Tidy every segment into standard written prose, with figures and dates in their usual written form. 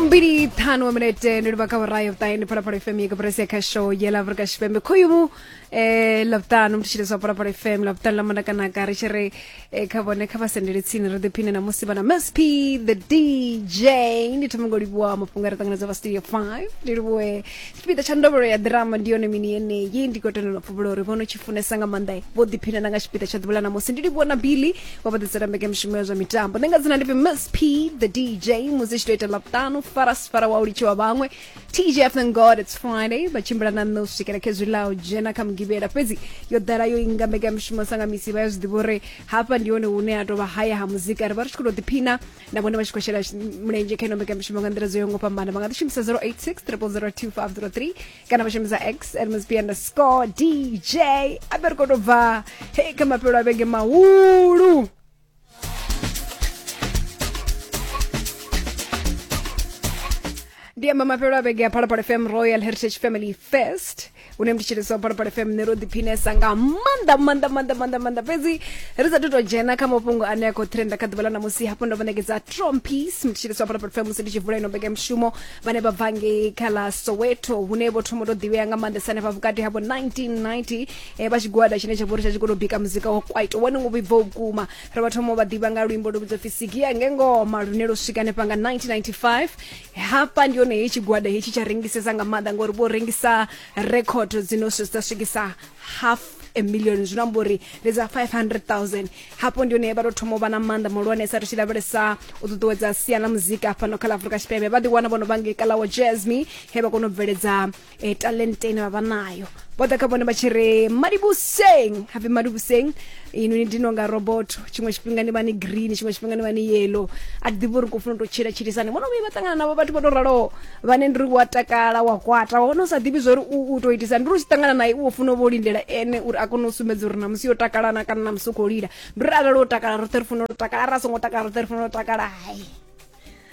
Fumbili ṱhanu wa minete ndi livha kha vhurayo vhuṱahe ndi Phalaphala FM ya koporasi ya khasho ya ḽa Afrika Tshipembe. Khoyu ḽavhuṱanu mutshilisi wa Phalaphala FM ḽavhuṱanu ḽa manakanaka ri tshi ri kha vhone kha vha sendele tsini ri ḓiphine na musi vha na Miss P the DJ. Ndi thoma ngo livhuwa mafhungo a ri ṱanganedza vha studio 5 ndi livhuwe tshipiḓa tsha ndovhelo ya drama ndi yone mini yeneyi ndi khou tenda na pfuvhula uri vhono tshi funesa nga maanḓa vho ḓiphina na nga tshipiḓa tsha ḓuvha ḽa ṋamusi. Ndi livhuwa na Billy wa vha ḓisela mbekanyamushumo ya zwa mitambo. Nṋe nga dzina ndi pfi Miss P the DJ musi tshi to ita ḽavhuṱanu farasfara wa u litshiwa vhaṅwe TGF thank God it's Friday vha tshimbila na nṋe u swikela khezwi ḽa u dzhena kha mugivhela fhedzi yo ḓala yo inga mbekanyamushumo sa nga misi vha ya zwi ḓivha uri hafha ndi hone hune ha tovha haya ha muzika ri vha ri tshi khou tou ḓiphina na vhone vha tshi khou shela mulenzhe kha ino mbekanyamushumo nga nḓila dzo yaho nga u fhambana. Vha nga ḓi shumisa 086 000 2503 kana vha shumisa x at msp underscore dj abe ri khou tou bva hei kha mafhelo a vhege mahulu. Ndi amba mafhelo a vhege ya Phalaphala FM Royal Heritage Family Fest hune mthetshelesi wa Phalaphala FM nṋe ro ḓiphinesa nga maanḓa maanḓa maanḓa maanḓa maanḓa fhedzi ri sa tou dzhena kha mafhungo ane a khou trenda kha ḓuvha ḽa ṋamusi hafho ndo vha ṋekedza Trompies mthetshelesi wa Phalaphala FM musi ndi tshi vula ino mbekanyamushumo vhane vha bva ngei kha ḽa Soweto hune vho thoma u tou ḓivhea nga maanḓesa hanefha vhukati havho 1990 vha tshigwada tshine tsha vha uri tsha tshi khou tou bika muzika wa kwaito wone wo vhibvaho vhukuma. Ri vha thoma u vha ḓivha nga luimbo lu vhidzwa pfi Sigia Ngengoma lune lwo swika hanefha nga 1995. Hafha ndi hone heyi tshigwada hetshi tsha rengisesa nga maanḓa ngori vho rengisa record dzino dza swikisa half a million zwino amba uri ndi dza 500,000. Hafho ndi hone vha tou thoma u vha na maanḓa mahulwanesa ri tshi lavhelesa u ṱuṱuwedza sia ḽa muzika fhano kha ḽa Afrika Tshipembe. Vha ḓi wana vho no vha ngei kha ḽa wa Jazz-Me he vha kona u bveledza talente ine vha vha nayo. Vho ḓa kha vhone vha tshi ri Madibuseng, hapfi Madibuseng inwi ndi no nga robot, tshiṅwe tshifhinga ni vha ni green, tshiṅwe tshifhinga ni vha ni yellow. A thi ḓivhi uri khou funa u tou tshila tshilisani. Vho no vhuya vha ṱangana navho vhathu vho tou raloho vhane ndi ri wa takala wa kwata wa wana u sa ḓivhi zwori u tou itisa ndi uri u tshi ṱangana naye u funa u vho lindela ene uri a kone u sumbedza uri namusi yo takala na kana namusi u khou lila. Ndi uri arali o takala roṱhe ri funa u takala, arali a songo takala roṱhe ri funa u takala. Hai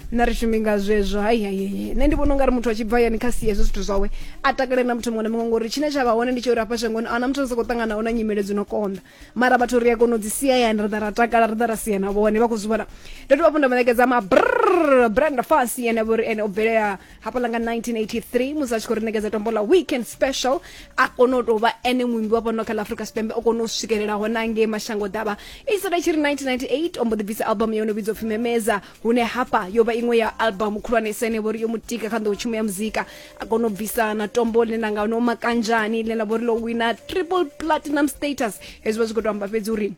nṋe ri shumi nga zwezwo hai hai hai nṋe ndi vhona ungari muthu a tshi bva hayani kha sie hezwo zwithu zwawe a takale na muthu muṅwe na muṅwe ngori tshine tsha vha hone ndi tsha uri hafha shangoni ahuna muthu a sokou ṱanganaho na nyimele dzi no konḓa mara vhathu ri a kona u dzi sia hayani ra ḓa ra takala ra ḓa ra sia na vhone vha khou zwi vhona. Ndo dovha hafhu nda vha ṋekedza ma brrr Brenda Fassie ane a vha uri ene o bvelela hafhaḽa nga 1983 musi a tshi khou ri ṋekedza tombo ḽa weekend special a kona u tou vha ene muimbi wa fhano kha ḽa Afrika Tshipembe o kona u swikelela hone ngei mashango ḓavha. I sala i tshi ri 1998 o mbo ḓi bvisa album yo no vhidzwa pfhi Memeza hune hafha yo vha iṅwe ya album khulwanesa ine vhori yo mutika kha nḓowetshumo ya muzika a kona u bvisa na tombo ḽine ḽa nga no makanzhani ḽine ḽa vhori ḽo wina triple platinum status. Hezwi vha zwi khou tou amba fhedzi uri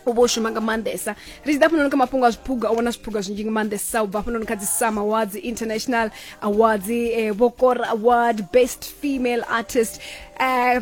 u vho shuma nga maanḓesa. Ri tshi ḓa hafhanoni kha mafhungo a zwiphuga o vhona zwiphuga zwinzhi nga maanḓesa u bva hafhanoni kha dzi SAMA Awards, International Awards, vho Kora Award, Best Female Artist.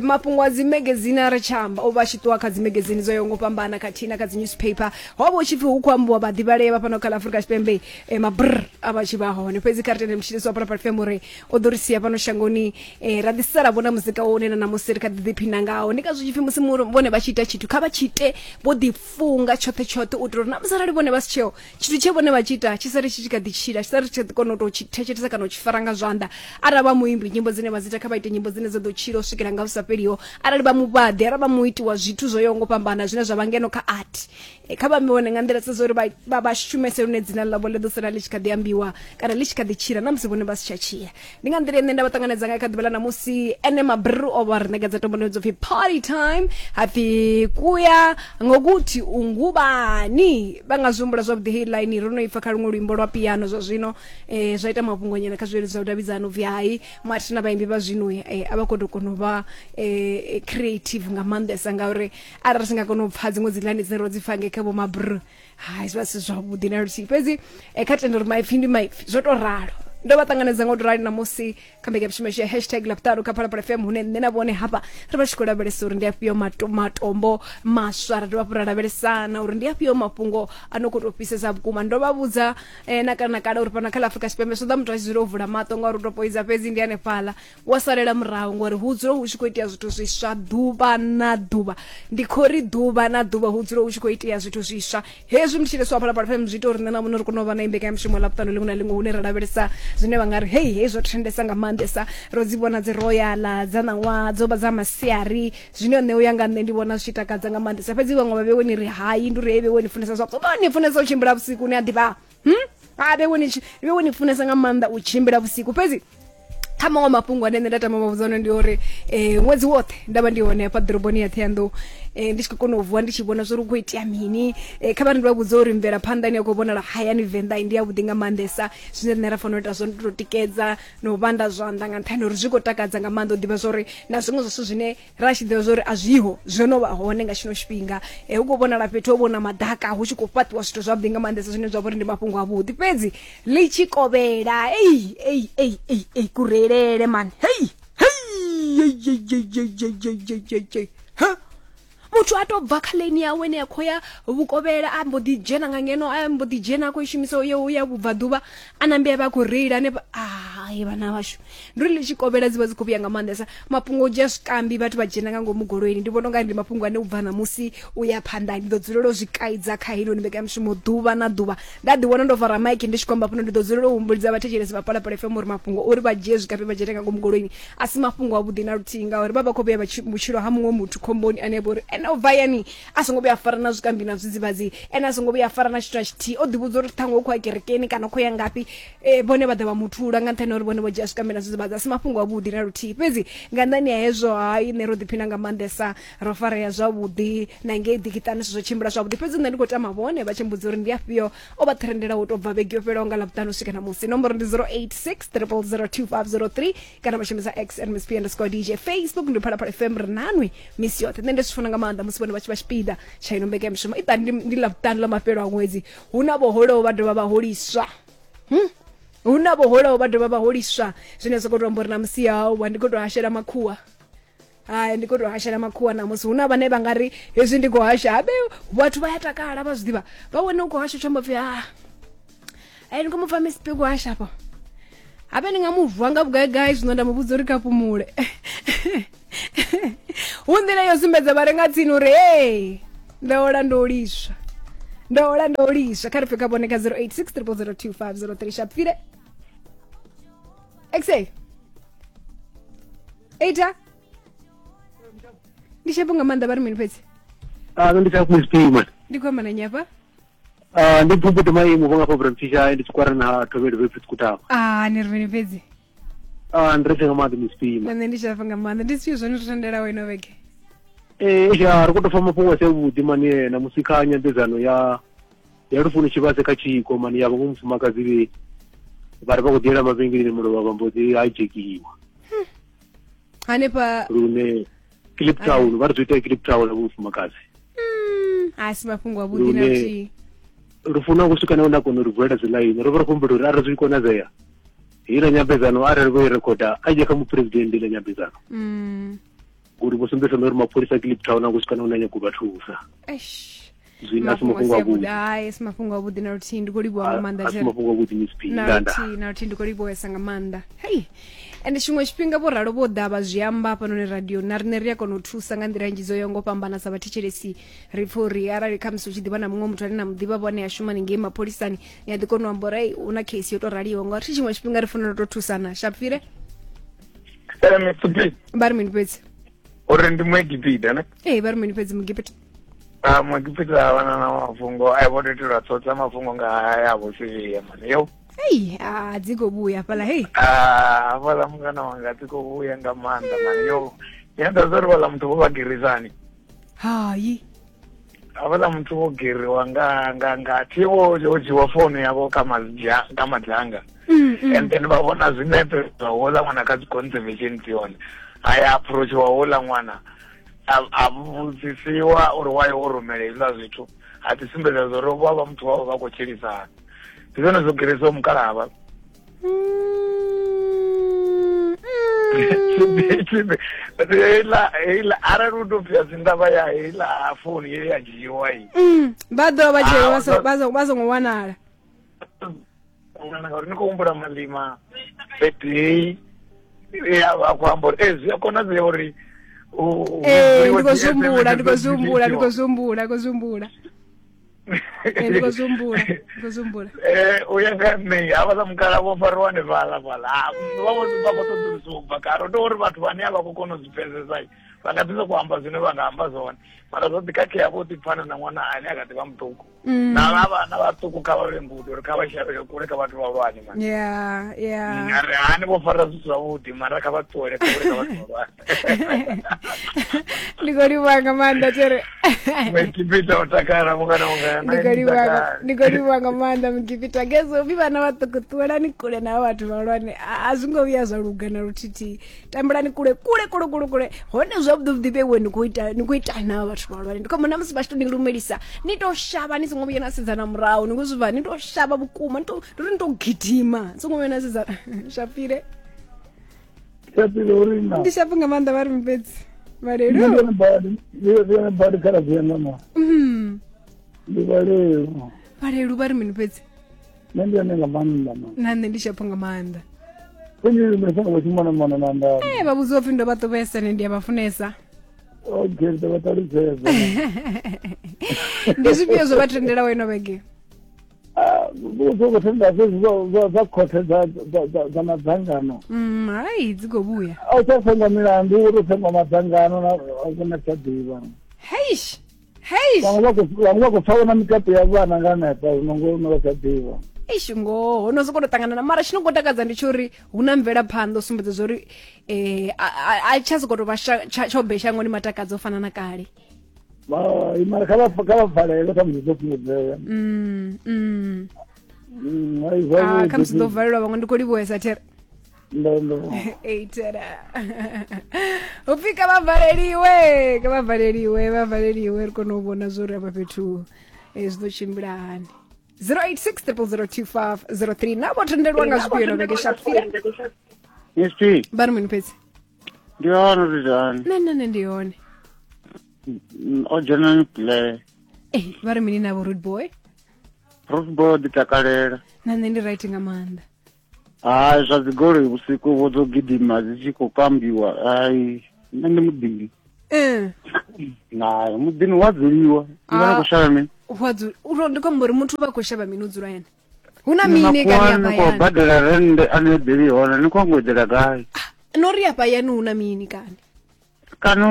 Mafhungo a dzi magazine a ri tshi amba o vha tshi ṱuwa kha dzi magazine dzo yaho nga u fhambana khathihi na kha dzi newspaper. Ho vha hu tshi pfi hu khou ambiwa vhaḓivhalea vha fhano kha ḽa Afrika Tshipembe mabrr a vha tshi vha hone. Fhedzi kha ri tende mutshilisi wa Phalaphala FM uri o ḓo ri sia fhano shangoni ra ḓi sala vhona muzika wo une na ṋamusi ri kha ḓi ḓiphina ngawo. Ndi ngazwo tshipfi musi vhone vha tshi ita tshithu kha vha tshi ite vho ḓifunga tshoṱhe tshoṱhe u itela uri na musi arali vhone vha si tsheo tshithu tshe vhone vha tshi ita tshi sale tshi tshi kha ḓi tshila, tshi sale tshi kha ḓi kona u tou tshi thetshelesa kana u tshi fara nga zwanḓa. Arali vha muimbi nyimbo dzine vha dzi ita kha vha ite nyimbo dzine dza ḓo tshila u swikela nga hu sa fheliho. Arali vha muvhaḓi, arali vha muiti wa zwithu zwo yaho nga u fhambana zwine zwa vha ngeno kha art kha vha ambe vhone nga nḓila dza uri vha shumese lune dzina ḽavho ḽi ḓo sala ḽi tshi kha ḓi ambiwa kana ḽi tshi kha ḓi tshila na musi vhone vha si tsha tshila. Ndi nga nḓila ine nda vha ṱanganedza ngayo kha ḓuvha ḽa ṋamusi. Ene Mabru o vha ri ṋekedza tombo ḽo pfi party time hapfi kuya ngokuthi ungubani. Vha nga zwi humbula zwavhuḓi heyi line ro no ipfa kha luṅwe luimbo lwa piano zwa zwino zwa ita mafhungo nyana kha zwileludzi zwa vhudavhidzano pfi hai mathina vhaimbi vha zwino a vha khou tou kona u vha creative nga maanḓesa ngauri arali ri si nga kona u pfa dziṅwe dzi line dzine ro dzi pfa ngei kha vho Mabru hai zwi vha si zwavhuḓi na luthihi. Fhedzi kha tenda uri maipfi ndi maipfi zwo to ralo. Ndo vha ṱanganedza ngo to rali ṋamusi kha mbekanyamushumo yashu ya hashtag ḽavhuṱanu kha Phalaphala FM hune nṋe na vhone hafha ri vha tshi khou lavhelesa uri ndi afhio matombo maswa ra dovha hafhu ra lavhelesana uri ndi afhio mafhungo a no khou tou fhisesa vhukuma. Ndo vha vhudza na kale na kale uri fhano kha ḽa Afrika Tshipembe zwi ṱoḓa muthu a tshi dzula o vula maṱo ngauri u tou poidza fhedzi ndi hanefhaḽa wa salela murahu ngori hu dzula hu tshi khou itea zwithu zwiswa ḓuvha na ḓuvha. Ndi khou ri ḓuvha na ḓuvha hu dzula hu tshi khou itea zwithu zwiswa. Hezwi mutshilesi wa Phalaphala FM zwi ita uri nṋe na vhone ri kone u vha na mbekanyamushumo ḽavhuṱanu ḽiṅwe na ḽiṅwe hune ra lavhelesa zwine vha nga ri hei hei zwo trendesa nga maanḓesa. Ro dzi vhona dzi royal dza ṋaṅwaha dzo vha dza masiari zwine nṋe uya nga nṋe ndi vhona zwi tshi takadza nga maanḓesa. Fhedzi vhaṅwe vha vhewe ni ri hai ndi uri hei vhewe ni funesa zwa ni funesa u tshimbila vhusiku ni a ḓivha. A vhe ni funesa nga maanḓa u tshimbila vhusiku. Fhedzi kha maṅwe mafhungo ane nṋe nda tama mavhudza one ndi uri ṅwedzi woṱhe nda vha ndi hone hafha ḓoroboni ya Ṱhohoyanḓou, ndi tshi khou kona u vuwa ndi tshi vhona zwori hu khou itea mini. Kha vha ri ndi vha vhudza uri mvelaphanḓa ine ya khou vhonala hayani Venḓa ndi ya vhuḓi nga maanḓesa. Zwine riṋe ra fanela u ita zwone ndi to tikedza na u vhanda zwanḓa nga nṱhani uri zwi khou takadza nga maanḓa u ḓivha zwori na zwiṅwe zwa zwithu zwine ra tshi ḓivha zwori a zwiho zwo no vha hone nga tshino tshifhinga. Hu khou vhonala fhethu ho vhona maḓaka hu tshi khou fhaṱiwa zwithu zwavhuḓi nga maanḓesa zwine zwa vha uri ndi mafhungo avhuḓi. Fhedzi ḽi tshi kovhela ei ei ei ei ei kureilele mani hei hei ei ei ei ei ei ei ei ei ha muthu a to bva kha lane yawe ine ya khou ya vhukovhela a mbo ḓi dzhena nga ngeno, a mbo ḓi dzhena a khou i shumisa yo ya vhubvaḓuvha, a nambe a vha a khou reila hanefha. Ai vhana vhashu, ndi uri ḽi tshi kovhela dzi vha dzi khou vhuya nga maanḓesa mafhungo u dzhia zwikambi vhathu vha dzhena nga ngomu goloini. Ndi vhona unga ndi mafhungo ane u bva ṋamusi u ya phanḓa ndi ḓo dzulela u zwi kaidza kha heinoni mbekanyamushumo ḓuvha na ḓuvha. Nda ḓi wana ndo fara maiki ndi tshi khou amba hafhano, ndi ḓo dzulela u humbulidza vhathetshelesi vha Phalaphala FM uri mafhungo uri vha dzhie zwikambi vha dzhene nga ngomu goloini a si mafhungo avhuḓi na luthihi, ngauri vha vha khou vhea vhutshilo ha muṅwe muthu khomboni ane a vha uri ene o bva hayani a songo vhuya a fara na zwikambi na zwidzivhadzi, ene a songo vhuya a fara na tshithu na tshithihi, o ḓivhudza uri ṱhaṅwe u khou ya kerekeni kana u khou ya ngafhi, vhone vha ḓa vha muthula nga nṱhani ha uri vhone vho dzhia zwikambi na zwidzivhadzi. A si mafhungo avhuḓi na luthihi. Fhedzi nga nnḓani ha hezwo, hai, nṋe ro ḓiphina nga maanḓesa, ro farea zwavhuḓi na ngei ḓikiṱani zwithu zwo tshimbila zwavhuḓi. Fhedzi nṋe ndi khou tama vhone vha tshi mbudza uri ndi afhio o vha trendelaho u tou bva vhege yo fhelaho nga Ḽavhuṱanu u swika ṋamusi. Nomboro ndi 086 0002503 kana vha shumisa x msp underscore dj. Facebook ndi Phalaphala FM, ri nanwi misi yoṱhe. Nṋe ndi zwi funa nga maanḓa musi vhone vha tshi vha tshipiḓa tsha ino mbekanyamushumo. I ṱani ndi Ḽavhuṱanu ḽa mafhelo a ṅwedzi, hu na vho holaho vha dovha vha holiswa. Hu na vho holaho vha dovha vha holiswa, zwine zwa khou tou amba uri na musi hawa ndi khou tou hashela makhuwa. Hai, ndi khou tou hashela makhuwa ṋamusi. Hu na vhane vha nga ri hezwi ndi khou hasha, habe vhathu vha ya takala, vha zwi ḓivha, vha wane u khou hasha tsho mbo pfhi a ai ndi khou mu pfa Miss P khou hasha afho, habe ndi nga mu vuwa nga vhugaigai zwino nda mu vhudza uri kha fhumule. Hu nḓila yo sumbedza vha re nga tsini uri hey, ndo ola ndo liswa, ndo ola ndo liswa. Kha ri pfe kha vhone kha 086 0002503. Shapfile xa eita ndi tshepo nga maanḓa, vha ri mini fhedzi? Ah, ndi tsha Miss P man. Ndi khou amba na nyafha. Ah, ndi pfumbuti maimo vho nga fha Bramfisha ndi tshikwara na Thobelo vhe Pfutskutava. Ah, ni ri mini fhedzi? Ah, ndi ri nga maanḓa Miss P man. Nṋe ndi tshafa nga maanḓa. Ndi zwifhio zwone zwi tendelaho ino vhege? Eh, ya ri khou tou pfa mafhungo a si avhuḓi mani na musi kha nyambedzano ya lufuno tshivhase kha tshiko mani ya vhaṅwe mufumakadzi vhe vha ri vha khou ḓiyela mavhengeleni mulovha vha mbo ḓi hijackiwa. Hanefha lune Kliptown vha ri zwi itea Kliptown vho mufumakadzi. A si mafhungo avhuḓi na luthihi. Lufuno ku swika na hune a kona uri vulela dzi ḽaini, ro vha ri khou humbela uri arali zwi konadzea heiḽa nyambedzano arali vho i rekhoda a ye kha muphuresidennde iḽa nyambedzano, ngori vho sumbedzisa na uri mapholisa a Kliptown a ngo swika na hune a nyago u vha thusa. Zwino a si mafhungo avhuḓi. Hai, a si mafhungo avhuḓi na luthihi. Ndi khou livhuwa nga maanḓa. A si mafhungo avhuḓi Miss P. Na luthihi, na luthihi, ndi khou livhuwesa nga maanḓa. Hei, ende tshiṅwe tshifhinga vho ralo vho ḓa vha zwi amba hafhanoni radio, na riṋe ri a kona u thusa nga nḓila nnzhi dzo yaho ngo fhambana. Sa vhathetshelesi ri pfha uri arali khamusi u tshi ḓivha na muṅwe muthu ane na mu ḓivha vhone a shuma haningei mapholisani, ni a ḓi kona u amba uri hu na case yo tou raliho, ngauri thi tshiṅwe tshifhinga ri fanela u tou thusana. Shapfile vha ri mini fhedzi? Uri ndi Muegipita ne? Ee, vha ri mini fhedzi Mugipita? A Muegipita a vhana na mafhungo a vho itelwa tsotsa mafhungo nga haya vho Siria mani yo. Hei, a dzi khou vhuya fhaḽa hei. Ah, hafhaḽa mungana wanga dzi khou vhuya nga maanḓa mani yo. Ndi nda zwa uri vhaḽa muthu vho vha girisani. Hai. Hafhaḽa muthu vho giriwa nga nga nga thi vho ho dzhiwa founu yavho kha madzha kha madzanga. And then vha vhona zwinepe zwa houḽa ṅwana kha dzi conservation dzi hone. Ha ya approachiwa houḽa ṅwana a vhudzisiwa uri why o rumela hezwiḽa zwithu, a ḓi sumbedza zwa uri vha vha muthu wavho vha khou tshilisana. Ndi zwone zwo girisaho mukalahava. Heiḽa heiḽa arali u tou pfhi dzindavha ya heiḽa founu ye ya dzhiiwa i. Vha ḓo vha dzhiiwa vha songo wanala. Ngauri ni khou humbula malima birthday ya vha khou amba uri ee zwi a konadzea uri ee ndi khou zwi humbula, ndi khou zwi humbula, ndi khou zwi humbula, ndi khou zwi humbula. Ndi khou zwi humbula, ndi khou zwi humbula. U ya nga nṋe havhaḽa mukala vho fariwa hanefhaḽa fhaḽa vha vho vha khou ṱoḓulusiwa u bva kale, ndo uri vhathu vhane a vha khou kona u zwi pfesesa vha nga ḓi sokou amba zwine vha nga amba zwone. Mara zwo ḓi khakhea vho ḓi pfana na ṅwana ane a kha ḓi vha muṱuku. Na vha vhana vhaṱuku kha vha vhe ngudo uri kha vha shavhele kule kha vhathu vhahulwane mani. Yeah, yeah. A ri hani vho fara zwithu zwavhuḓi mara kha vha ṱuwele kule kha vhathu vhahulwane. Ndi khou livhuwa nga maanḓa tere. Mukipita o takala mungana wanga. Ndi khou livhuwa nga- ndi khou livhuwa nga maanḓa mukipita gezo upfi vhana vhaṱuku ṱuwelani kule na vhathu vhahulwane a zwi ngo vhuya zwa luga na luthihi tambelani kule kule kule kule kule hone zwavhuḓi vhuḓi vheiwe ni khou ita ni khou ita na vhathu vhahulwane ndi khou mona musi vha tshi to ni lumelisa ni to shavha ni songo vhuya na sedzana murahu ni khou zwi bva ni to shavha vhukuma ni to ndi uri ni to gidima ni songo vhuya na sedzana shapile Shapile uri na. Ndi shapu nga maanḓa vha ri mufhedzi vhalelu Ndi yone badi, ndi yone badi kha radio yanga ma. Ndi vhalelu. Vhalelu vha ri mini fhedzi? Nṋe ndi yone nga maanḓa ma. Na nṋe ndi shapu nga maanḓa. Fhedzi ndi songo vha tshimona mona na nda. Eh vha vhudziwa upfi ndo vha ṱuvhesa nṋe ndi a vha funesa. Okay, ndi ḓo vha ṱalutshedza. Ndi zwifhio zwo vha tendelaho ino vhege? Vho khou tenda fhedzi zwa khothe dza madzangano. Hai dzi khou vhuya. A u tsha sengwa milandu uri u sengwa madzangano na tsha ḓivha. Heish. Heish. Vhaṅwe vha khou pfa na mikapu ya vhana nga hanefha zwino ngo no vha tsha ḓivha. Eish ngoho no sokou tou ṱangana na mara tshi no khou takadza ndi tsho uri hu na mvelaphanḓa u sumbedza zwa uri a tsha sokou tou vha tshobe shangoni matakadza u fana na kale. Mara kha vha valele kha musi ḓo fhungudzea. Kha musi ḓo valelwa vhaṅwe ndi khou livhuwesa there. Eitera. Upfi kha vha valeliwe, kha vha valeliwe, vha valeliwe ri kone u vhona zwo uri afha fhethu zwi ḓo tshimbila hani. 086 0002503 na vho tendelwa nga zwifhio no vhege shapfira. Yes, P. Vha ri mini fhedzi? Ndi hone uri hani? Nṋe nṋe ndi hone. O dzhena ni play. Eh, vha ri mini na vho rude boy? Rude boy ḓi takalela. Na nṋe ndi right nga maanḓa. Hai zwa dzigoloi vhusiku vho dzo gidima dzi tshi khou kambiwa. Hai nṋe ndi muḓini. Nayo muḓini wa dzuliwa. Ni vha ni khou shavha mini? Wa dzula. Uro ndi khou amba uri muthu vha khou shavha mini u dzula ene. Hu na mini kani Ni afha khou hayani? badela rennde a ni eḓeli hone ni khou ngo eḓela gai? No ri afha hayani hu na mini kani? Kana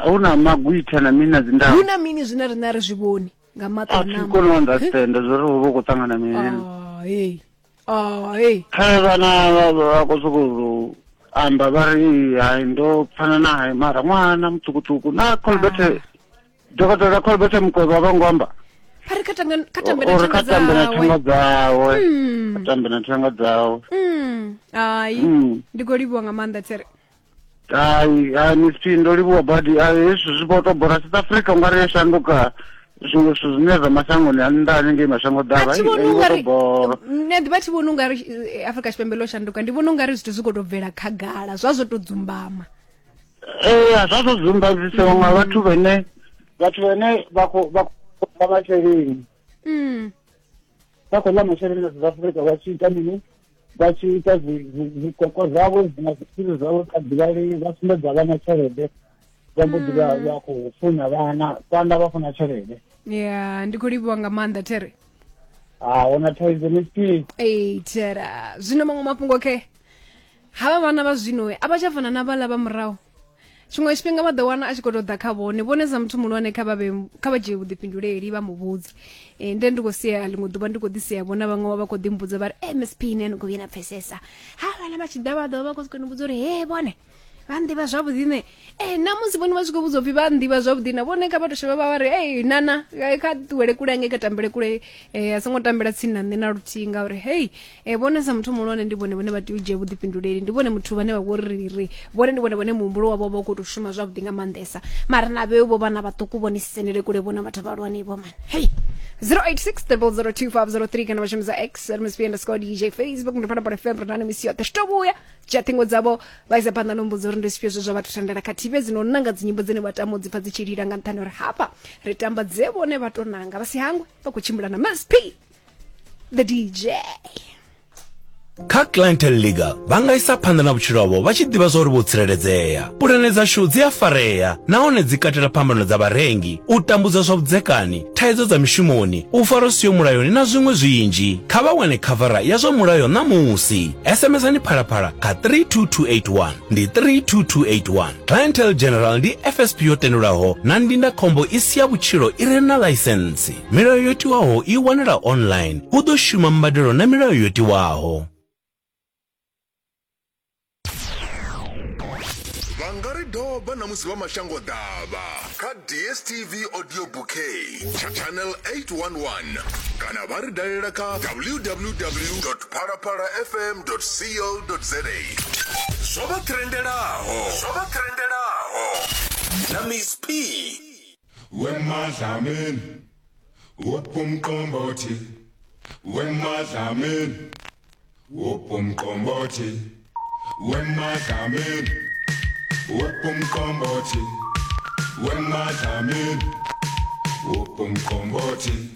hu na magwitha na mini na dzindau? Hu na mini zwine riṋe a ri zwi vhoni nga maṱo A a thi ṋama? koni u understand zwo ri hu vha hu khou ṱangana mini. Ah, hey. Ah, hey. Kha vhana vha khou sokou amba vha ri hai ndo pfana na hai mara ṅwana muṱukuṱuku na Colbert dokotela Colbert Mukwevho vha ngo amba. Vha ri kha tambe na Uri kha tambe na thanga thanga dzawe. Kha tambe na thanga dzawe. Hai. Ndi khou livhuwa nga maanḓa tsere. Hai, hai Miss P ndo livhuwa badi. Hai hezwi zwi vho to bora South Africa ungari yo shanduka zwiṅwe zwithu zwine zwa mashangoni a nnḓa hanengei mashango ḓavha. A thi vhoni I vho to ungari bora. nṋe ḓivha thi vhoni ungari Afrika Tshipembe ḽo shanduka ndi vhona ungari zwithu zwi khou tou bvela khagala zwa zwo tou dzumbama. Ee, zwa zwo dzumbadzisiwa nga vhathu vhene vha khou ḽa masheleni. Vha khou ḽa masheleni a South Africa vha tshi ita mini? Vha tshi ita zwikwekwe zwavho na zwiphiri zwavho kha ḓivhalei vha sumbedza vhana tshelede vha mbo ḓi vha khou funa vhana vhana vha funa tshelede. Ya, ndi khou livhuwa nga maanḓa there. A huna thaidzo Miss P. Ee, thera. Zwino maṅwe mafhungo khe havha vhana vha zwino a vha tsha fana na vhaḽa vha murahu. Tshiṅwe tshifhinga vha ḓo wana a tshi khou tou ḓa kha vhone vhone sa muthu muhulwane kha vha dzhie vhuḓifhinduleli vha mu vhudze. Nde ndi khou sia ḽiṅwe ḓuvha ndi khou ḓi sia vhona vhaṅwe vha khou ḓi mbudza vha ri MSP nṋe ni khou vhuya na pfesesa. Ha vhaḽa vha tshi ḓa vha ḓo vha khou sokou ni vhudza uri he vhone vha nḓivha zwavhuḓi nṋe. Na musi vhone vha tshi khou vhudzwa upfi vha nḓivha zwavhuḓi na vhone kha vha to shavha vha vha ri ei nana kha ṱuwele kule hange kha tambele kule a songo tambela tsini na nṋe na luthihi ngauri hei vhone sa muthu muhulwane ndi vhone vhone vha tea u dzhia vhuḓifhinduleli ndi vhone muthu vhane vha vho ri ri vhone ndi vhone vhone muhumbulo wavho vha u khou tou shuma zwavhuḓi nga maanḓesa mara na vheu vho vhana vhaṱuku vhone sisendele kule vhona vhathu vhahulwane vho mani hei 086 0002503 kana vha shumisa X MSP underscore DJ Facebook ndi Phalaphala FM ri nani misi yoṱhe zwi to vhuya dzhia ṱhingo dzavho vha isa phanḓa no mbudza uri ndi zwifhio zwe zwa vha thandela khathihi fhedzi no nanga dzinyimbo dzine vha tama u dzi pfa dzi tshi lila nga nṱhani uri hafha ri tamba dze vhone vha to nanga vha si hangwe vha khou tshimbila na MSP the DJ. Kha Clientele Legal vha nga isa phanḓa na vhutshilo havho vha tshi ḓivha zwa uri vho tsireledzea. Pulane dzashu dzi a farea nahone dzi katela phambano dza vharengi, u tambudza zwa vhudzekani, thaidzo dza mishumoni, u farwa zwi siho mulayoni na zwiṅwe zwinzhi. Kha vha wane khavara ya zwa mulayo ṋamusi. SMSani Phalaphala kha 32281. Ndi 32281. Clientele General ndi FSP yo tendelwaho na ndindakhombo i si ya vhutshilo i re na ḽaisentsi. Milayo yo tiwaho i wanala online. Hu ḓo shuma mbadelo na milayo yo tiwaho. Vha nga ri doba na musi vha mashango ḓavha kha DSTV Audio Bouquet channel 811 kana vha ri dalela kha www.phalaphalafm.co.za. Zwo vha trendelaho, zwo vha trendelaho na Miss P. Wemadlamini wopumqombothi wemadlamini wopumqombothi wemadlamini wopumqombothi wemadlamini wopumqombothi.